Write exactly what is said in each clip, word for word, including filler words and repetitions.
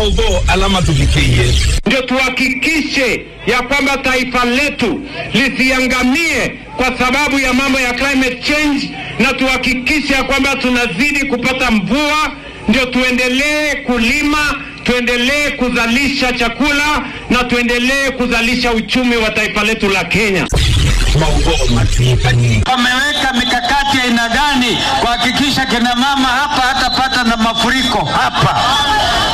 Maũvoo ala matũvikĩie. Ndio tuhakikishe ya kwamba taifa letu lisiangamie kwa sababu ya mambo ya climate change, na tuhakikishe ya kwamba tunazidi kupata mvua, ndio tuendelee kulima, tuendelee kuzalisha chakula, na tuendelee kuzalisha uchumi wa taifa letu la Kenya. Maũvoo matwĩkanie. Wameweka mikakati ya aina gani kuhakikisha kina mama hapa hatapata na mafuriko hapa?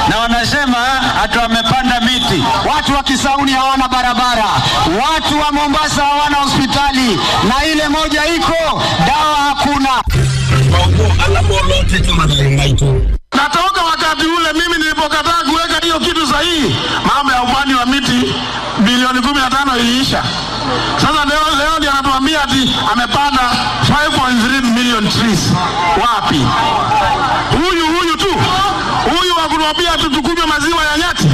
Na wanasema ati wamepanda miti. Watu wa Kisauni hawana barabara, watu wa Mombasa hawana hospitali, na ile moja iko, dawa hakuna. Maũvoo ala molotete mathayũ maitũ. Na toka wakati ule mimi nilipokataa kuweka hiyo kitu sahihi, mambo ya upande wa miti bilioni kumi na tano iliisha. Sasa leo, leo ndiye anatuambia ati amepanda five point three million trees. Wapi? Huyu, huyu tu. Huyu wa kutuambia tu tukunywe maziwa ya nyati.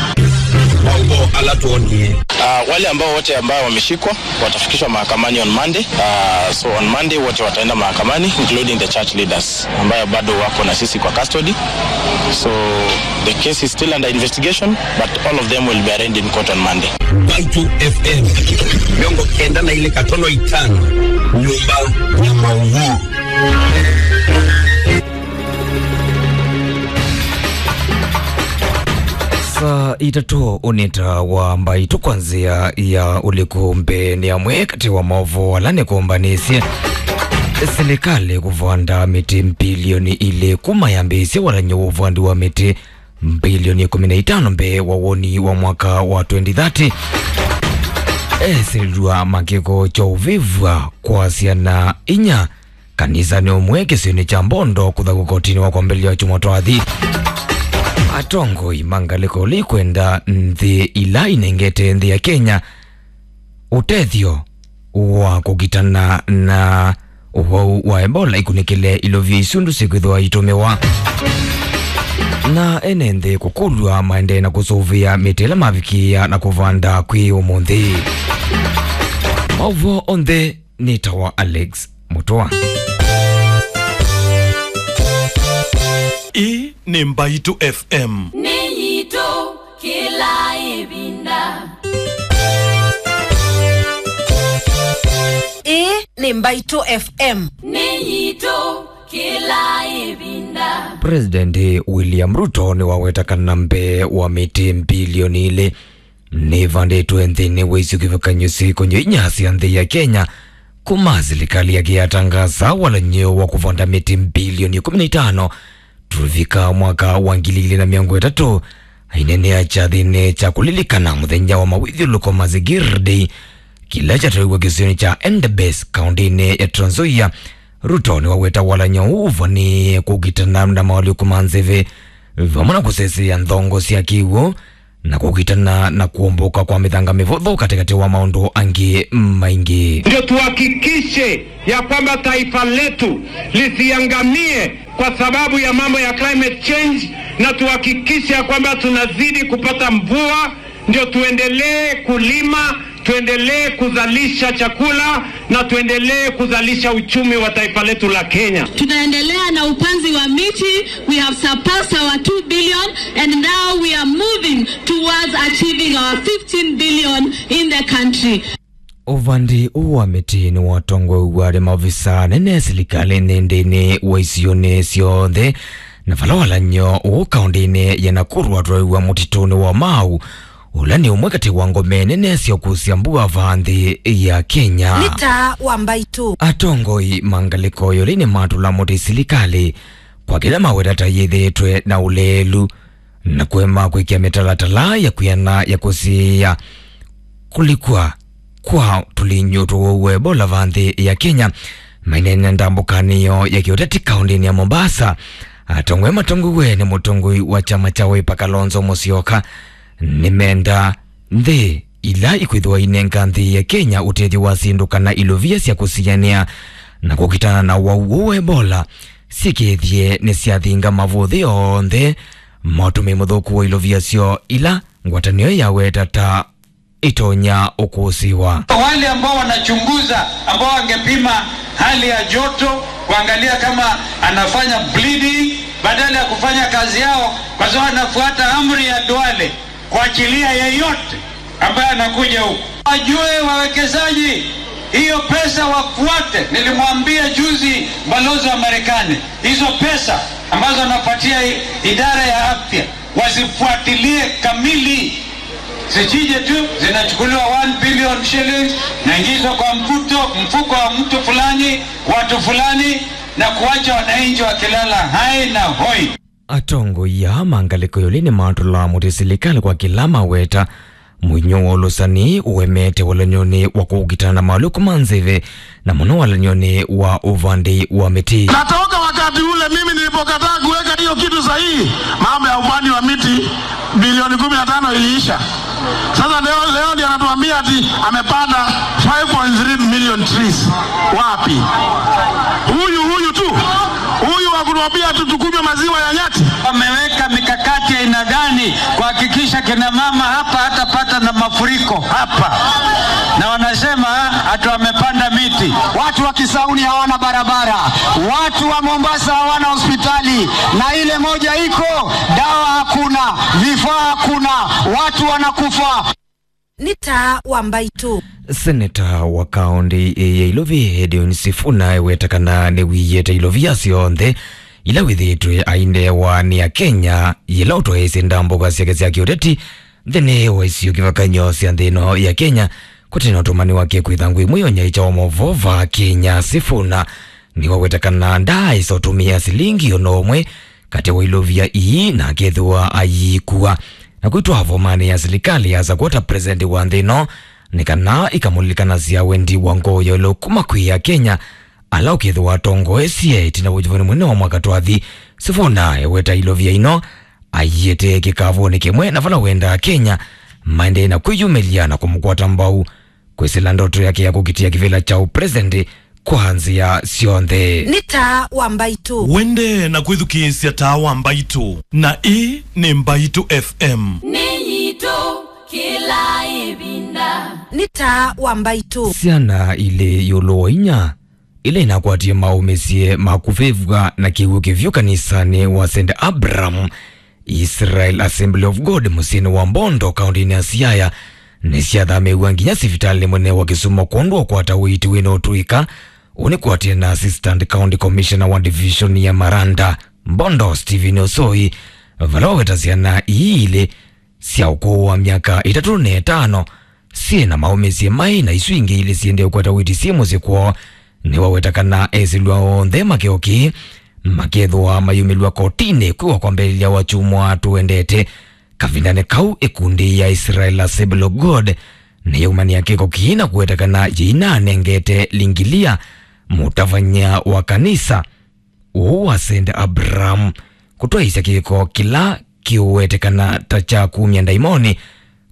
Maũvoo ala twonie. Ah, wale ambao wote ambao wameshikwa watafikishwa mahakamani on Monday. Ah, so on Monday wote wataenda mahakamani, including the church leaders ambayo bado wako na sisi kwa custody. So the case is still under investigation, but all of them will be arraigned in court on Monday. Mbaitũ F M mĩongo kenda na ilĩ katono itano, nyũmba ya maũvoo. Saa itatũ ũnĩta wa Mbaitũ kwa nzĩa ya ũliku. Mbee nĩ amwe katĩ wa maũvoo ala nĩkũmbanĩsye silikalĩ kũvanda mĩtĩ mbilioni ilĩ kuma yambĩĩsye walany'o wa ũvandi wa mĩtĩ mbilioni ĩkũmi na itano mbee wa woni wa mwaka wa twenty thirty. Esĩlw'a makĩko kya ũvĩvw'a kwa syana inya kanisanĩ ũmwe kĩsionĩ kya Mbondo kũthaw'a kotinĩ wa kwambĩlĩlya kyumwa twathi. Atongoi ma ngalĩko ĩla ikwenda nthĩ ila inengete nthĩ ya Kenya ũtethyo wa kũkitana na ũwau wa Ebola ikunĩkĩle ilovia isu ndũ syĩkwĩthĩwa itũmĩwa. Na ene nthĩ kũkũlw'a maendee na kũsũvĩa mĩtĩ ĩla mavikĩĩa na kũvanda kwĩ ũmũnthĩ. Maũvoo onthe nĩ ta wa Alex Mũtũa. Ĩĩ nĩ Mbaitũ F M. Nĩ yitũ kĩla ĩvinda. Ĩĩ nĩ Mbaitũ F M. Nĩ yitũ kĩla ĩvinda. President William Ruto nĩwaweta kana mbee wa mĩtĩ mbilioni ilĩ nĩvandĩtwe nthĩnĩ wa isio kĩvakanyo sya ikonyo inya sya nthĩ ya Kenya, kuma silikalĩ yake yatangasa walany'o wa kũvanda mĩtĩ mbilioni ĩkũmi na itano tũvika mwaka wa ngili ilĩ na mĩongo ĩtatũ. Aineenea kyathĩnĩ kya kũlilikana mũthenya wa mawĩthyũlũko, Mazingira Day, kĩla kyatwaiwe kĩsionĩ kya Endebess, kaũntĩnĩ ya Trans Nzoia, Ruto nĩwaweta walany'o ũũ ũvanĩĩe kũkitana na maũlĩku ma nzeve, vamwe na kũsesea nthongo sya kĩw'ũ, na kũkitana na kũmbũka kwa mĩthanga mĩvũthũ katĩkatĩ wa maũndũ angĩ maingĩ. Ndio tuhakikishe ya kwamba taifa letu lisiangamie kwa sababu ya mambo ya climate change, na tuhakikishe ya kwamba tunazidi kupata mvua, ndio tuendelee kulima, tuendelee kuzalisha chakula, na tuendelee kuzalisha uchumi wa taifa letu la Kenya. Tunaendelea na upanzi wa miti. We have surpassed our two billion and now we are moving towards achieving our fifteen billion in the country. Ũvandi ũũ wa mĩtĩ nĩwatongoew'a nĩ maovisa anene silikalĩnĩ nthĩnĩ wa isionĩ syonthe, na vala walany'o ũũ kaũntĩnĩ ya Nakuru watwaiwa mũtitũnĩ wa Mau, ũla nĩ ũmwe katĩ wa ngome nene sya ũkusya mbua vaa nthĩ ya Kenya. Nĩ taa wa Mbaitũ. Atongoi ma ngalĩko ĩũlũ nĩmatũla mũtĩ silikalĩ kwa kĩla maweta ta yĩthĩĩtwe na ũleelu na kũema kwĩkĩa mĩtalatala ya kwĩana ya kũsiĩĩa kũlikw'a kwa tũlinyũ twa ũwau wa Ebola vaa nthĩ ya Kenya. Maineena ndambũkanĩo ya kĩũteti kaũntĩnĩ ya Mombasa, atongoi matongoew'e nĩ mũtongoi wa kyama kya Wiper Kalonzo Musyoka nĩmenda nthĩ ila ikwĩthĩwa inenga nthĩ ya Kenya ũtethyo wa syĩndũ kana ilovia sya kũsianĩa na kũkitana na ũwau ũũ wa Ebola syĩkĩĩthye nĩsyathinga mavũthĩ onthe ma ũtũmĩi mũthũku wa ilovia syoo ila ngwatanĩo yaweta ta itonya ũkũsĩwa. Wale ambao wanachunguza, ambao wangepima hali ya joto, kuangalia kama anafanya bleeding, Badala ya kufanya kazi yao, kwa sababu wanafuata amri ya Duale kuachilia yeyote ambaye anakuja huku. Wajue wawekezaji, hiyo pesa wafuate. Nilimwambia juzi balozi wa Marekani, hizo pesa ambazo anapatia i-, idara ya afya, wasifuatilie kamili. Zisije tu zinachukuliwa one billion shillings, naingizwa kwa mfuto, mfuko wa mtu fulani, watu fulani, na kuacha wananchi wakilala hai na hoi. Atongoi aa ma ngalĩko ĩũlũ nĩmatũlaa mũtĩ silikalĩ kwa kĩla maweta mũinyo wa ũlũsani ũemete walany'onĩ wa kũkitana na maũlũku ma nzeve, na mũno walany'onĩ wa ũvandi wa mĩtĩ. Na toka wakati ule mimi nilipokataa kuweka hiyo kitu sahihi, mambo ya upanzi wa miti bilioni kumi na tano iliisha. Sasa leo, leo ndiye anatuambia ati amepanda five point three million trees. Wapi? Huyu, huyu tu. Huyu wa kutuambia tu tukunywe maziwa ya nyati. Wameweka mikakati ya aina gani kuhakikisha kina mama hapa hatapata na mafuriko hapa? Na wanasema ati wamepanda miti. Watu wa Kisauni hawana barabara. Watu wa Mombasa hawana hospitali. Na ile moja iko, dawa hakuna, vifaa hakuna, watu wanakufa. Nĩ taa wa mbaitũ. Seneta wa kaũntĩ ya Ilovi, Edwin Sifuna, eweta kana nĩwĩyĩte ilovia syonthe ila wĩthĩĩtwe ainewa nĩ Akenya yĩla ũtwaĩĩsye ndambũka syake sya kĩũteti nthĩnĩ wa isio kĩvathũkany'o sya nthĩ ĩno ya Kenya, kũte na ũtũmani wake kwĩtha ngũĩ ĩmwe ya ũnyaĩĩkya wa maũvoo va Kenya. Sifuna nĩwaweta kana ndaaĩsa ũtũmĩa silingi o na ũmwe katĩ wa ilovia ii na akethĩwa ayĩkua na kwĩtwa vomanĩ ya silikalĩ ya Sakwa ta president wa nthĩ ĩno, nĩ kana ikamũlilikanasya wendi wa ngoo ya ĩũlũ kuma kwĩ Akenya ala ũkethĩwa atongoesye ĩtina wa ũnyuvani mũnene wa mwaka twathi. Sifuna eweta ilovia ino aiĩte kĩkavũnĩ kĩmwe na vala wendaa Akenya maendee na kwĩyumĩlya na kũmũkwata mbau kwĩsĩla ndoto yake ya kũkitĩa kĩvĩla kya ũpresident kwa nzĩa syonthe. Nĩ taa wa mbaitũ. Wende na kwĩthukĩĩsya taa wa mbaitũ, na ĩĩ nĩ Mbaitũ F M. Nĩ yitũ kĩla ĩvinda. Nĩ taa wa mbaitũ. Syana ilĩ ĩũlũ wa inya ila inakwatie maũmĩsye ma kũvĩvw'a na kĩw'ũ kĩvyũ kanisanĩ wa Saint Abraham Israel Assembly of God mũsyĩnĩ wa Mbondo, kaũntĩnĩ ya Siaya, nĩsyathamĩĩw'a nginya sivitalĩ mũnene wa Kisumu kwondũ wa kũkwata ũiiti wĩ na ũtũĩka. Ũũ nĩ kũatĩĩa na Assistant County Commissioner wa Division ya Maranda, Mbondo, Stephen Osoi, vala waweta syana ii ilĩ sya ũkũũ wa myaka ĩtatũ na ĩtano syĩ na maũmĩsye maĩ na isu ingĩ ilĩ syĩendee kũkwata ũiiti syĩ mũsyĩ kwoo. Nĩwaweta kana esĩlwa onthe makeo kĩĩ makethĩwa mayumĩlw'a kotinĩ kwĩwa kwambĩlĩlya wa kyumwa tũendete. Kavindanĩ kau, ĩkundi ya Israel Assembly of God nĩyaumania kĩko kĩĩ na kũweta kana yĩinanengete lingilia mũtavany'a wa kanisa ũũ wa Saint Abraham kũtwaĩĩsya kĩko kĩla kĩũwetekana ta kya kumya ndaimoni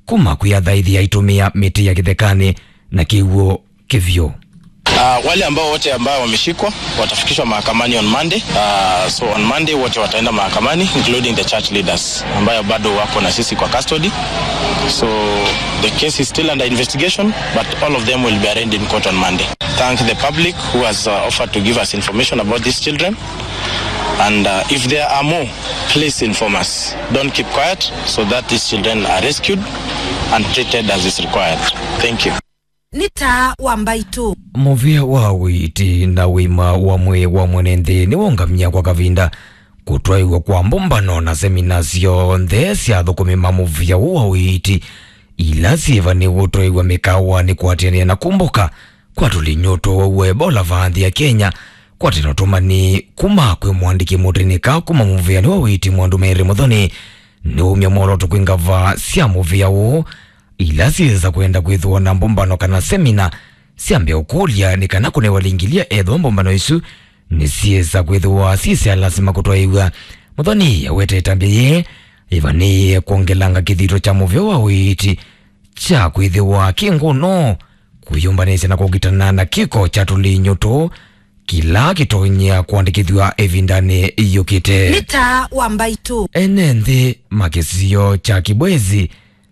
kuma kwĩ athaithi aitũmĩa mĩtĩ ya kĩthekanĩ na kĩw'ũ kĩvyũ. Uh, wale ambao wote ambao wameshikwa watafikishwa mahakamani on Monday. Uh, so on Monday wote wataenda mahakamani, including the church leaders ambayo bado wako na sisi kwa custody. So the case is still under investigation, but all of them will be arraigned in court on Monday. Thank the public who has, uh, offered to give us information about these children. And, uh, if there are more, please inform us. Don't keep quiet so that these children are rescued and treated as is required. Thank you. Nĩ taa wa mbaitũ. Mũvĩa wa ũiiti na ũima wa mwĩĩ wa mwene nthĩ nĩwongamya kwa kavinda kũtwaĩw'a kwa mbũmbano na semina syonthe sya athũkũmi ma mũvĩa ũũ wa ũiiti ila syĩva nĩw'o ũtwaĩw'a mĩkaawanĩ kũatĩanĩa na kũmbũka kwa tũlinyũ tũwau wa Ebola vaa nthĩ ya Kenya, kwatĩna ũtũmani kuma kwĩ mũandĩki mũtĩnĩka kuma mũvĩanĩ wa ũiiti Mwandu Mary Muthoni nĩwaumya mwolooto kwĩ ngava sya mũvĩa ũũ ila syĩsa kwenda kwĩthĩwa na mbũmbano kana semina syambe ũkũlya nĩ kana kũnewa lingilia ethĩwa mbũmbano isu nĩsyĩsa kwĩthĩwa syĩ sya lasima kũtwaĩw'a. Muthoni awete ĩtambya yĩĩ ĩvanĩĩe kwongelanga kĩthito kya mũvĩa wa ũiiti kya kwĩthĩwa kĩ ngũno kwĩyũmbanĩsya na kũkitana na kĩko kya tũlinyũ tũũ kĩla kĩtonyea kũandĩkĩthw'a ĩvindanĩ yũkĩte. Nĩ taa wa mbaitũ. Ene nthĩ ma kĩsio kya Kibwezi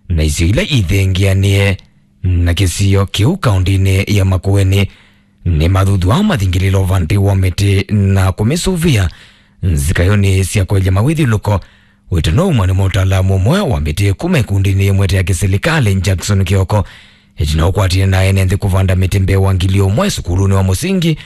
na isio ila ithengeanĩe na kĩsio kĩu kaũndĩnĩ ya Makueni nĩmathuthwaa mathingĩlĩlo vandĩ wa mĩtĩ na kũmĩsũvĩa nzikayonĩ sya kwaĩlya mawĩthyũlũko. Wĩtano ũmwe nĩ mũtaalamu ũmwe wa mĩtĩ kuma ĩkundinĩ yĩmwe ya kĩsilikalĩ, Jackson Kioko, ĩtina ũkwatĩe na ene nthĩ kũvanda mĩtĩ mbee wa ngili ũmwe sukulunĩ wa mũsingi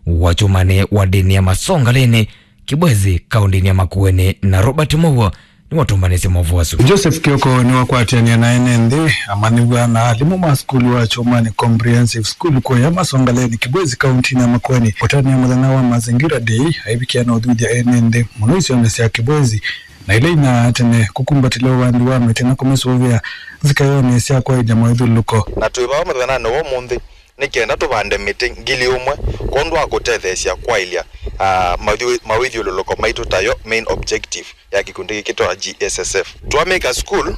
wa Kyũmanĩ wa ndĩni ya Masongaleni, Kibwezi, kaũndĩnĩ ya Makueni, na Robert Mow'o nĩwatũmbanĩsye maũvoo asu. Joseph Kioko nĩwakwatĩanĩa na ene nthĩ, amanyĩw'a na alimũ ma sukulu wa Kyũmanĩ Comprehensive School kũya Masongaleni, Kibwezi, kaũntĩnĩ ya Makueni, kũtanĩa mũthenya wa Mazingira Day, aivikĩa na ũthuthya ene nthĩ mũno isionĩ sya Kibwezi na ila inyaa tene, kũkumbatĩlya ũvandi wa mĩtĩ na kũmĩsũvĩa nzikayonĩ sya kwaĩlya mawĩthyũlũko. Na twĩ vaa mũthenyanĩ wa ũmũnthĩ nĩ kenda tũvande mĩtĩ ngili ũmwe kwondũ wa kũtetheesya kwaĩlya, ah, mawĩthyũ-, mawĩthyũlũlũko maitũ, tayo main objective ya kĩkundi kĩkĩ twa G S S F. Twamĩka school,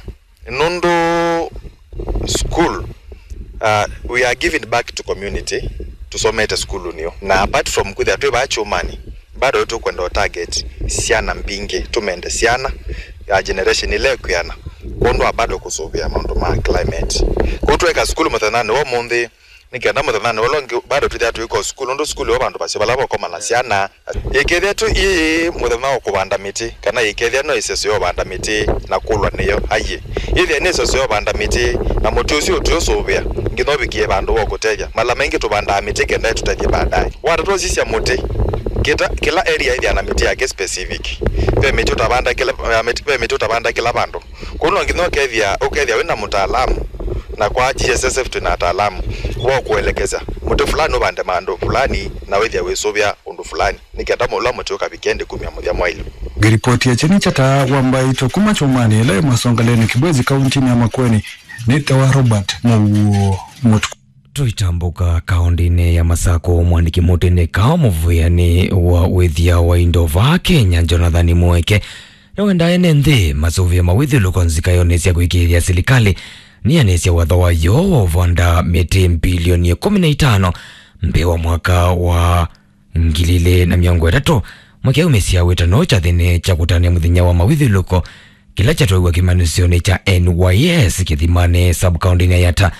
nũndũ school, ah, we are giving back to community, tũsomete sukulu nĩyo. Na apart from kwĩthĩa twĩ vaa Kyũmanĩ, bado tũkwenda target syana mbingĩ, tũmende syana ya generation ĩla ĩkwĩana, kwondũ wa bado kũsũvĩa maũndũ ma climate. Kwoou tweka sukulu mũthenyanĩ wa ũmũnthĩ, nĩ kenda mũthenyanĩ ũla ũngĩ bado twĩthĩa twĩka sukulu, nũndũ sukulu yo vandũ vaseo vala vakomana syana. Yĩkethĩa tu ii mũthenya wa kũvanda mĩtĩ, kana yĩkethĩa no ĩseso ya ũvanda mĩtĩ na kũlwa nĩyo, aiĩ. Yĩthĩa nĩ ĩseso ya ũvanda mĩtĩ, na mũtĩ ũsu ũtũũsũvĩa nginya ũvikĩe vandũ wa kũtethya. Mala maingĩ tũvandaa mĩtĩ kenda ĩtũtethye baadaye. Watatũ ũsisya mũtĩ, kĩta, kĩla area ĩthĩa na mĩtĩ yake specific. Ve mĩtĩ ũtavanda kĩla, ve mĩtĩ, ve mĩtĩ ũtavanda kĩla vandũ. Kwoou no nginya ũkethĩa, ũkethĩa wĩ na mũtaalamu, na kwa G S S F twĩ na ataalamu wa kũelekeza mũtĩ fulani ũvande maandũ fulani, na wĩthĩa wĩsũvĩa ũndũ fulani, nĩ kenda ũla mũtĩ ũkavike ndĩ kumya mũthya mwaĩlu. Ngĩripoti ya Kyeni kya Taa wa Mbaitũ kuma Kyũmanĩ ĩla ĩ Masongaleni, Kibwezi, kaũntĩnĩ ya Makueni, nĩ Tewa Robert Mũuo Mũtuku. Tũitambũka kaũndĩnĩ ya Masakũ, mwandĩki mũtĩ nĩ kao mũvĩanĩ wa wĩthĩa wa indo vaa Kenya, Jonathan Mweke, nĩwendaa ene nthĩ masũvĩe mawĩthyũlũko nzikayonĩ sya kũĩkĩĩthya silikalĩ nĩyanĩsya watho wayo wa ũvanda mĩtĩ mbilioni ĩkũmi na itano mbee wa mwaka wa ngili ilĩ na mĩongo ĩtatũ. Mweke aumĩsya wĩtano kyathĩnĩ kya kũtanĩa mũthenya wa mawĩthyũlũko kĩla kyatwaiw'a kĩmanyĩsyonĩ kya N Y S Kĩthimanĩ, sub-kaũndĩnĩ ya Yatta,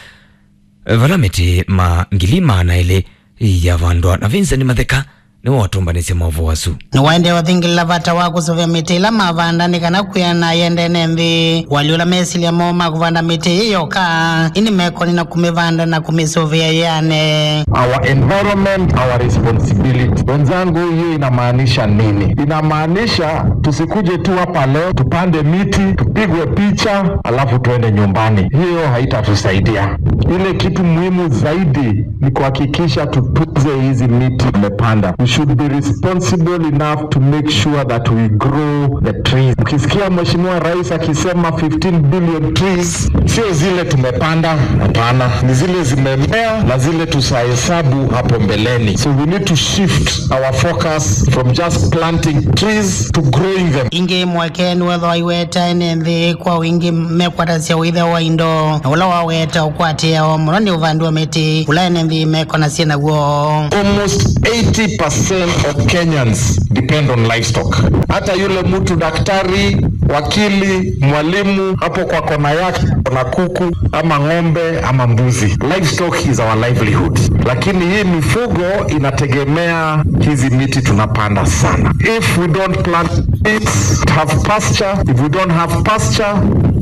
vala mĩtĩ ma ngili maana elĩ yavandwa. Na Vincent Matheka nĩwe watũmbanĩsye maũvoo asu. Nĩwaendee ũthingĩlĩla vata wa kũsũvĩa mĩtĩ ĩla mavanda nĩ kana kwĩana yende ene nthĩ. Walyũla mesilya moo ma kũvanda mĩtĩ ĩĩ yoka, ĩndĩ mekoni na kũmĩvanda na kũmĩsũvĩa yĩane. Our environment, our responsibility. Wenzangu, hiyo inamaanisha nini? Inamaanisha tusikuje tu hapa leo, tupande miti, tupigwe picha, alafu tuende nyumbani. Hiyo haitatusaidia. Ile kitu muhimu zaidi ni kuhakikisha tutunze hizi miti tumepanda. We should be responsible enough to make sure that we grow the trees. Ukisikia Mheshimiwa Rais akisema fifteen billion trees, sio zile tumepanda, hapana. Ni zile zimemea na zile tutahesabu hapo mbeleni. So we need to shift our focus from just planting trees to growing them. Ĩngĩ Mweke nĩwethwa aiweta ene nthĩ kwa wingĩ mekwatasya ũĩthya wa indo, na ũla waweta ũkwatĩawa mũno nĩ ũvandi wa mĩtĩ, ũla ene nthĩ mekonasya naw'o. Almost eighty percent of Kenyans depend on livestock. Hata yule mtu daktari, wakili, mwalimu, hapo kwa kona yake kuna kuku ama ng'ombe ama mbuzi. Livestock is our livelihood. Lakini hii mifugo inategemea hizi miti tunapanda sana. If we don't plant trees, have pasture, if we don't have pasture,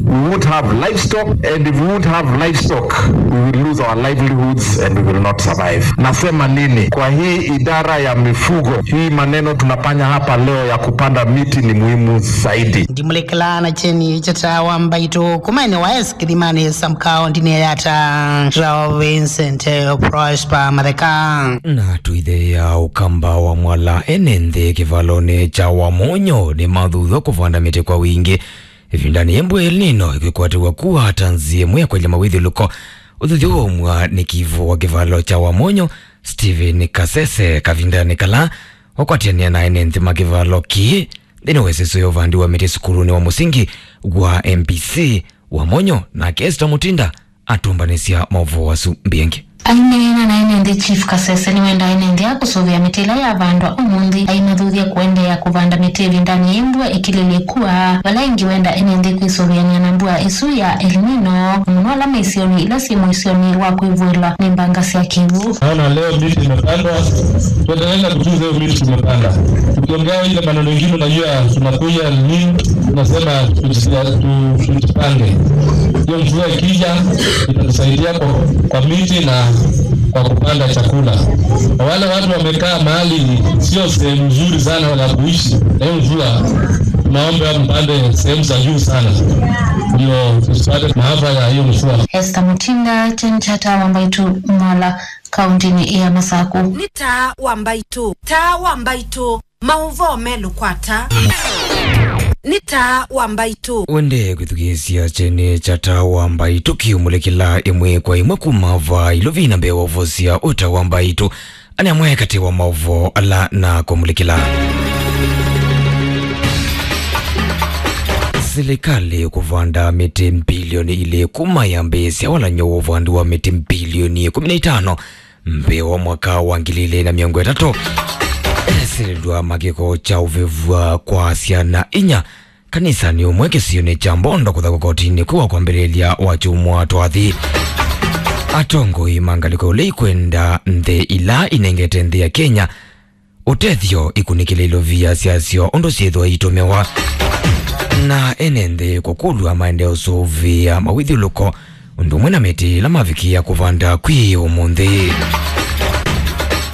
we won't have livestock, and if we won't have livestock, we will lose our livelihoods and we will not survive. Nasema nini? Kwa hii idara ya mifugo, hii maneno tunafanya hapa leo ya kupanda miti ni muhimu zaidi. Ndimulekela na Kyeni kya Taa wa Mbaitũ kuma N Y S Kĩthimanĩ sub-kaũndĩnĩ ya Yatta, Vincent Prosper Matheka. Na tũitheea ũkamba wa Mwala, ene nthĩ kĩvalonĩ kya Wamonyo nĩmathuthwa kũvanda mĩtĩ kwa wingĩ ĩvindanĩ yĩ mbua El Nino ĩkwĩkwatĩw'a kũatanzia ĩmwe ya kwaĩlya mawĩthyũlũko. Ũthuthyo waumw'a nĩ kivu wa kĩvalo kya Wamonyo, Stephen Kasese, kavindanĩ kala wakwatĩanĩa na ene nthĩ ma kĩvalo kĩĩ nthĩnĩ wa ĩseso ya ũvandi wa mĩtĩ sukulunĩ wa mũsingi wa M P C Wamonyo, nake Esther Mutinda atũmbanĩsya maũvoo asu mbingĩ. Aineena na ene nthĩ, Chief Kasese nĩwendaa ene nthĩ aa kũsũvĩa mĩtĩ ĩla yavandwa ũmũnthĩ, aimathuthya kũendeea kũvanda mĩtĩ ĩvindanĩ yĩĩ mbua ĩkilĩlye kua, vala ĩngĩ wendaa ene nthĩ kwĩsũvĩanĩa na mbua ĩsu ya El Nino, na mũno ala me isionĩ ila syĩ mũisyonĩ wa kwĩvũĩlwa nĩ mbanga sya kĩw'ũ. Naona leo miti imepandwa, tuendelee na kutunza hiyo miti tumepanda. Tukiongea ile maneno ingine, unajua tunakuja nini, tunasema tujisia-, tu-, tujipange. Hiyo mvua ikija, itatusaidia kwa, kwa miti na kwa kupanda chakula. Na wale watu wamekaa mahali sio sehemu nzuri sana ya kuishi, na hiyo mvua, tunaomba mpande sehemu za juu sana, ndio tusipate maafa ya hiyo mvua. Esther Mutinda, Kyeni kya Taa wa Mbaitũ, Mola, kauntinĩ ya Masaku. Nĩ Taa wa Mbaitũ, Taa wa Mbaitũ, maũvoo melũ kwa Taa. Nĩ Taa wa Mbaitũ. Wende kwĩthukĩĩsya Kyeni kya Taa wa Mbaitũ kĩũmũlĩkĩla ĩmwe kwa ĩmwe kuma vaa ilovi na mbee wa ũvosya ũta wa Mbaitũ. Ane amwe katĩ wa maũvoo ala na kũmũlĩkĩla. Silikalĩ kũvanda mĩtĩ mbilioni ilĩ kuma yambĩĩsya walany'o wa ũvandi wa mĩtĩ mbilioni ĩkũmi na itano mbee wa mwaka wa ngili ilĩ na mĩongo ĩtatũ. Esilĩlw'a makĩko kya ũvĩvw'a kwa syana inya kanisanĩ ũmwe kĩsionĩ kya Mbondo kũthaw'a kotinĩ kwĩ wa kwambĩlĩlya wa kyumwa twathi. Atongoi ma ngalĩko ĩla ikwenda nthĩ ila inengete nthĩ ya Kenya ũtethyo ikunĩkĩle ilovia syasyo ũndũ syĩthwa itũmĩwa. Na ene nthĩ kũkũlw'a maendee ũsũvĩa mawĩthyũlũko ũndũ ũmwe na mĩtĩ ĩla mavikĩĩa kũvanda kwĩ ũmũnthĩ.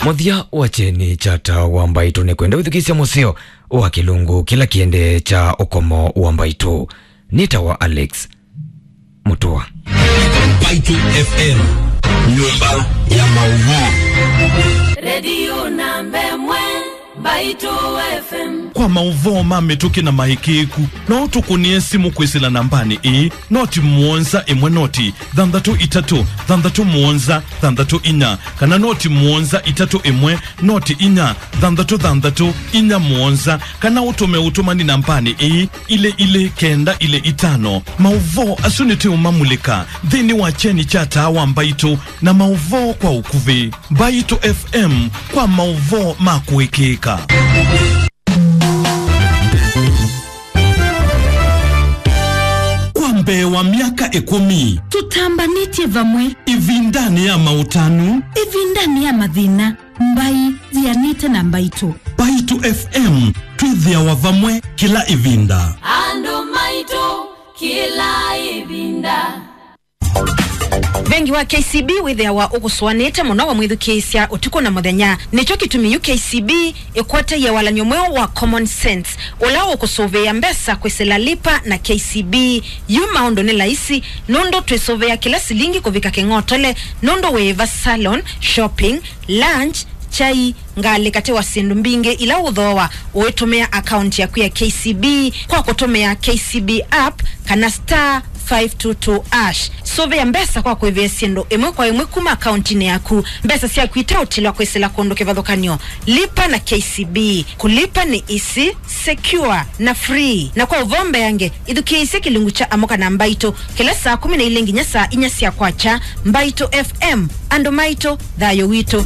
Mũthya wa Kyeni kya Taa wa Mbaitũ nĩ kwenda wĩthukĩĩsya mũseo wa kĩlungu kĩla kĩendee kya ũkomo wa Mbaitũ. Nĩ ta wa Alex Mũtũa. Mbaitũ F M, nyũmba ya maũvoo. Redio namba ĩmwe, Mbaitũ F M. Kwa maũvoo ma mĩtũkĩ na maĩkĩĩku, no ũtũkũnĩe simũ kwĩsĩla nambanĩ ĩĩ, noti mũonza ĩmwe noti thanthatũ itatũ thanthatũ mũonza thanthatũ inya, kana noti mũonza itatũ ĩmwe noti inya thanthatũ thanthatũ inya mũonza, kana ũtũme ũtũmani nambanĩ ĩĩ, ilĩ ilĩ kenda ilĩ itano. Maũvoo asu nĩtũũmamulĩka nthĩnĩ wa Kyeni kya Taa wa Mbaitũ na maũvoo kwa ũkuvĩ. Mbaitũ F M kwa maũvoo ma kũĩkĩĩka. Kwa mbee wa myaka ĩkũmi, tũtambanĩtye vamwe ĩvindanĩ ya maũtanu, ĩvindanĩ ya mathĩna, mbai yianĩte na Mbaitũ. Mbaitũ F M, twĩthĩawa vamwe kĩla ĩvinda. Andũ maitũ kĩla ĩvinda. Vengi wa K C B wĩthĩawa ũkũsũanĩte mũno wamwĩthukĩĩsya ũtukũ na mũthenya. Nĩkyo kĩtumi yu K C B ĩkwatie walany'o mweũ wa Common Sense, ũla ũkũsũvĩĩa mbesa kwĩsĩla Lipa na K C B. Yu maũndũ nĩ laisi, nũndũ twĩsũvĩa kĩla silingi kũvika kĩng'otole, nũndũ wĩĩva salon, shopping, lunch, kyai, ngalĩ katĩ wa syĩndũ mbingĩ ila ũthooa ũitũmĩa akaunti yaku ya K C B kwa kũtũmĩa K C B app kana star five two two hash. Sũvĩa mbesa kwa kũĩvĩa syĩndũ ĩmwe kwa ĩmwe kuma akauntinĩ yaku, mbesa syaku iteũtilwa kwĩsĩla kũndũ kĩvathũkany'o. Lipa na K C B. Kũlipa nĩ easy, secure, na free. Na kwa ũvoo mbeange, ĩthukĩĩsye kĩlungu kya Amũka na Mbaitũ kĩla saa kũmi na ilĩ nginya saa inya sya kwakya. Mbaitũ F M, andũ maitũ, thayũ witũ.